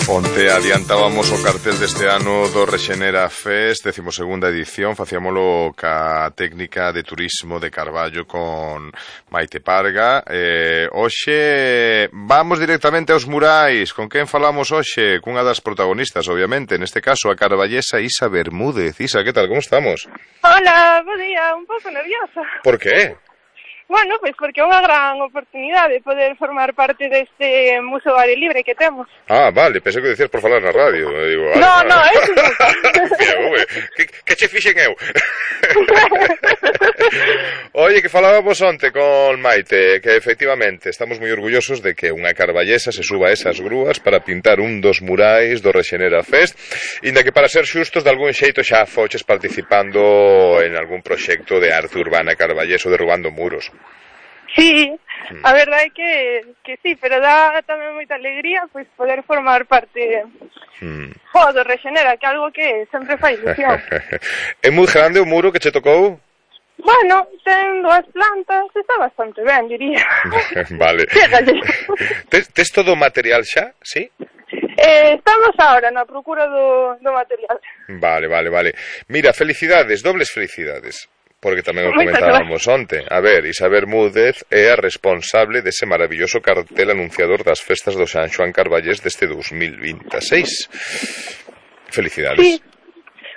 Onte adiantábamos o cartel deste ano do Rexenera Fest, 12ª edición, facíamolo ca técnica de turismo de Carballo con Maite Parga. Hoxe vamos directamente aos murais. Con quen falamos hoxe? Cunha das protagonistas, obviamente, neste caso a carballesa Isa Bermúdez. Isa, que tal, como estamos? Hola, bo día, un pouco nerviosa. Por que? Bueno, pois porque é unha gran oportunidade poder formar parte deste museo aire libre que temos. Ah, vale, pensei que decías por falar na radio. Digo, no, eso nunca. Que che fixen eu? Oye, que falábamos onte con Maite, que efectivamente estamos moi orgullosos de que unha carballesa se suba a esas grúas para pintar un dos murais do Rexenera Fest, inda que para ser xustos de algún xeito xa foches participando en algún proxecto de arte urbana carballeso derrubando muros. Sí, a verdade é que sí, pero dá tamén moita alegría pois poder formar parte do Rexenera, que é algo que sempre fai ilusión. É moi grande o muro que che tocou? Bueno, ten 2 plantas, está bastante ben, diría. Vale. Tes todo o material xa, sí? Estamos agora na procura do material. Vale. Mira, felicidades, dobles felicidades. Porque tamén o comentábamos onte. A ver, Isa Bermúdez é a responsable dese maravilloso cartel anunciador das festas do San Xoán Carballés deste 2026. Felicidades. Sí.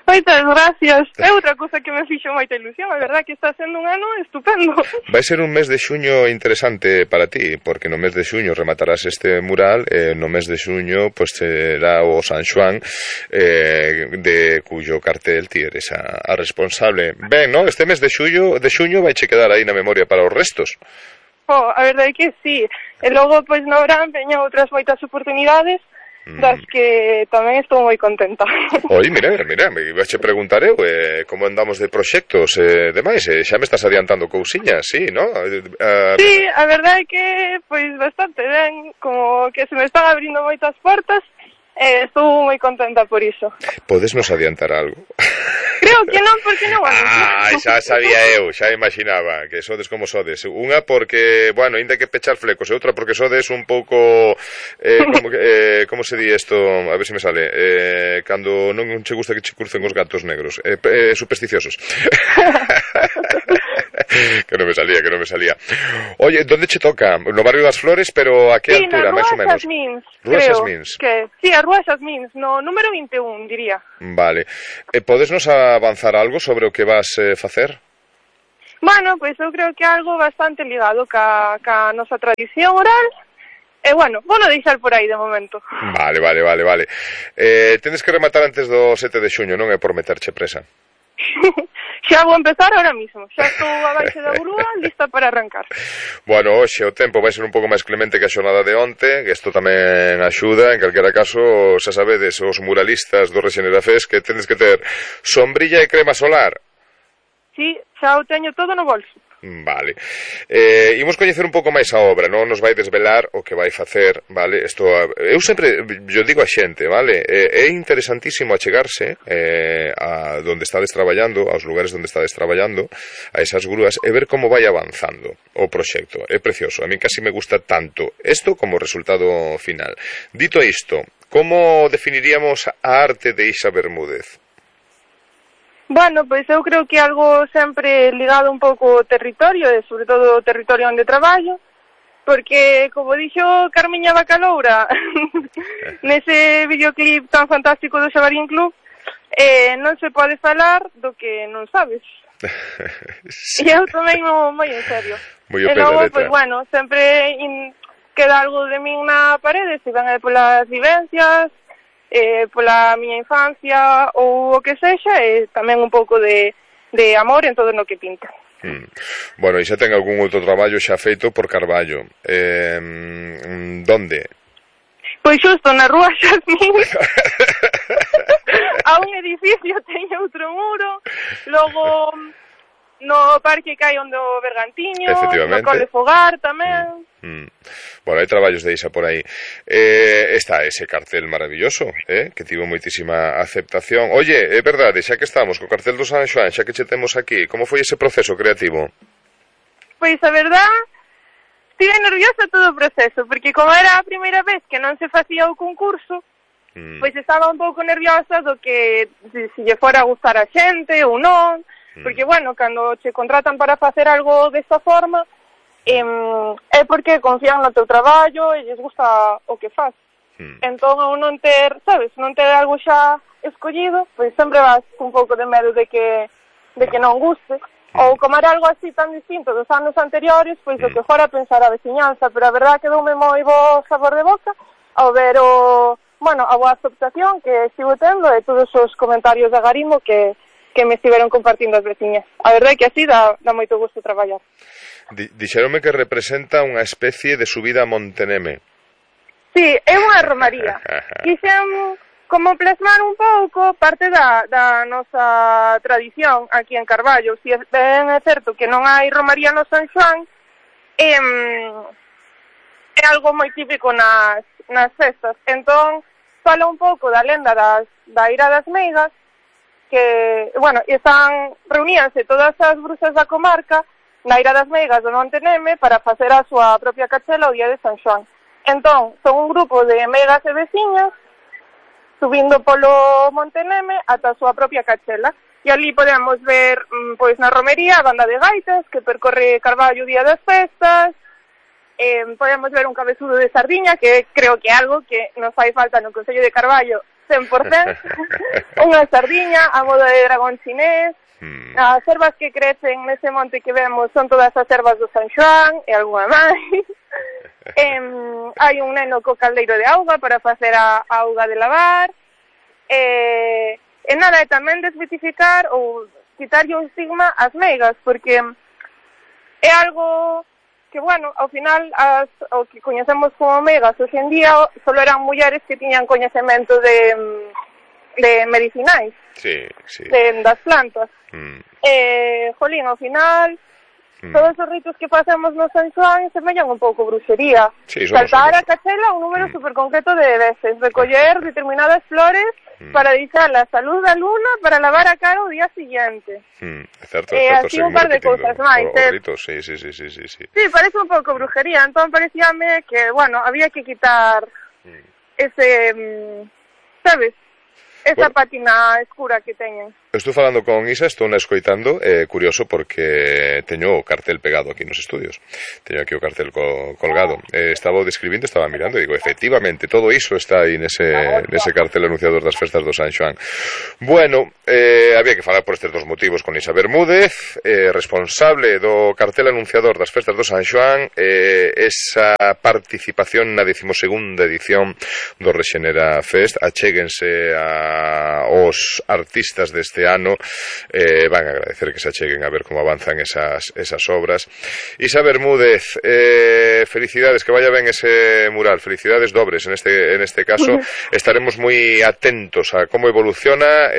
Moitas gracias. É outra cousa que me fixo moita ilusión. A verdade que está sendo un ano estupendo. Vai ser un mes de xuño interesante para ti, porque no mes de xuño rematarás este mural, no mes de xuño pues será o San Xoán, de cuyo cartel ti eres a responsable. Ben, no? Este mes de xuño vai che quedar aí na memoria para os restos. A verdade que sí. E logo, pois, no verán veñan outras moitas oportunidades das que tamén estou moi contenta. Oi, mira, me ibache preguntar eu como andamos de proxectos demais, xa me estás adiantando cousiñas, sí, no? Sí, a verdade é que, pois, bastante ben, como que se me están abrindo moitas portas, estou moi contenta por iso. Podes nos adiantar algo? Creo que non, porque non vamos. Xa sabía eu, xa imaginaba que sodes como sodes. Unha porque, bueno, ainda que pechar flecos, e outra porque sodes un pouco como se di isto, a ver se me sale, cando non che gusta que che crucen os gatos negros, supersticiosos. que non me salía. Oye, ¿dónde che toca? No barrio das Flores, pero a que altura, máis ou menos? Rúa Xasmins, creo. Sí, a Rúa Xasmins, no número 21, diría. Vale. Podes nos avanzar algo sobre o que vas facer? Bueno, pois eu creo que algo bastante ligado ca nosa tradición oral. Bueno, vou non deixar por aí de momento. Vale. Tenes que rematar antes do 7 de xuño, non é por meterche presa. Xa vou empezar ahora mismo. Xa estou abaixo da grúa, lista para arrancar. Bueno, hoxe o tempo vai ser un pouco máis clemente que a xornada de onte, que isto tamén axuda. En calquera caso, xa sabedes, os muralistas do Rexenera Fest, que tenes que ter sombrilla e crema solar. Sí, xa o teño todo no bolso. Vale. Imos coñecer un pouco máis a obra, non nos vai desvelar o que vai facer, vale? Isto, eu sempre, yo digo a xente, vale? É interesantísimo achegarse a donde estades traballando, aos lugares onde estades traballando, a esas grúas, e ver como vai avanzando o proxecto. É precioso, a mí casi me gusta tanto isto como o resultado final. Dito isto, como definiríamos a arte de Isa Bermúdez? Bueno, pois eu creo que algo sempre ligado un pouco ao territorio, e sobre todo ao territorio onde traballo, porque, como dixo Carmiña Bacaloura nese videoclip tan fantástico do Xabarín Club, non se pode falar do que non sabes. Sí. E eu tamén moi en serio. E logo, pois bueno, sempre queda algo de min na parede, se ven polas vivencias, pola miña infancia ou o que sexa, e tamén un pouco de amor en todo no que pinto. Bueno, e xa ten algún outro traballo xa feito por Carballo. Donde? Pois xusto na Rúa Xasmins. A un edificio teño outro muro, logo no Parque Cai onde o Bergantiño, no Cole Fogar tamén. Bueno, hai traballos de Isa por aí. Está ese cartel maravilloso, que tivo moitísima aceptación. Oye, é verdade, xa que estamos co cartel do San Xoán, xa que che temos aquí, como foi ese proceso creativo? Pois a verdade, estive nerviosa todo o proceso, porque como era a primeira vez que non se facía o concurso, pois estaba un pouco nerviosa do que se lle fora a gustar a xente ou non, porque, bueno, cando che contratan para facer algo desta forma, é porque confían no teu traballo e lles gusta o que faz. Entón, ao non ter, sabes, non ter algo xa escollido, pois sempre vas un pouco de medo de que non guste, ou comer algo así tan distinto dos anos anteriores, pois o que fora pensar a veciñanza, pero a verdad que doume moi bo sabor de boca ao ver a boa aceptación que estivo tendo e todos os comentarios de agarimo que me estiveron compartindo as veciñas. A verdade é que así dá moito gusto traballar. Dixéronme que representa unha especie de subida a Monteneme. Sí, é unha romaría. Quixen como plasmar un pouco parte da nosa tradición aquí en Carballo. Si ben é certo que non hai romaría no San Xoán, é algo moi típico nas festas. Entón, fala un pouco da lenda da Ira das Meigas, que, bueno, reuníanse todas as bruxas da comarca na Ira das Meigas do Monte Neme para facer a súa propia cachela o día de San Xoán. Entón, son un grupo de meigas e veciñas subindo polo Monte Neme ata a súa propia cachela. E ali podemos ver, pois, na romería a banda de gaitas que percorre Carballo o día das festas. Podemos ver un cabezudo de sardiña, que creo que é algo que nos fai falta no Concello de Carballo 100%. Unha sardiña a modo de dragón chinés. As ervas que crecen nese monte que vemos son todas as ervas do San Xoán e algunha máis. Hai un neno co caldeiro de auga para facer a auga de lavar. E nada, é tamén desmitificar ou quitarlle un estigma ás meigas, porque é algo que, bueno, ao final o que coñecemos como meigas hoxe en día solo eran mulleres que tiñan coñecemento de medicinais, das plantas. Jolín, ao final todos os ritos que facemos no San Xoán semellan un pouco bruxería. Saltar a cachela un número super concreto de veces, recoller determinadas flores para deixar a salud da luna para lavar a cara o día siguiente. Certo, así un par de cousas máis. Sí, parece un pouco brujería, entón parecíame que, bueno, había que quitar ese, sabes, esa pátina escura que teñen. Estou falando con Isa, estou na escoitando, curioso porque teño o cartel pegado aquí nos estudios. Teño aquí o cartel colgado. Estaba describindo, estaba mirando e digo, efectivamente, todo iso está aí nese cartel anunciador das festas do San Xoán. Bueno, había que falar por estes dos motivos con Isa Bermúdez, responsable do cartel anunciador das festas do San Xoán, esa participación na 12ª edición do Rexenera Fest. Achéguense aos artistas deste ano, van a agradecer que se acheguen a ver como avanzan esas obras. Isa Bermúdez, felicidades, que vaya ben ese mural, felicidades dobres en este caso. Estaremos moi atentos a como evoluciona,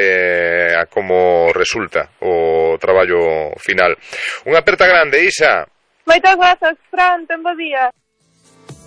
a como resulta o traballo final. Unha aperta grande, Isa. Moitas grazas, Fran, ten bo día.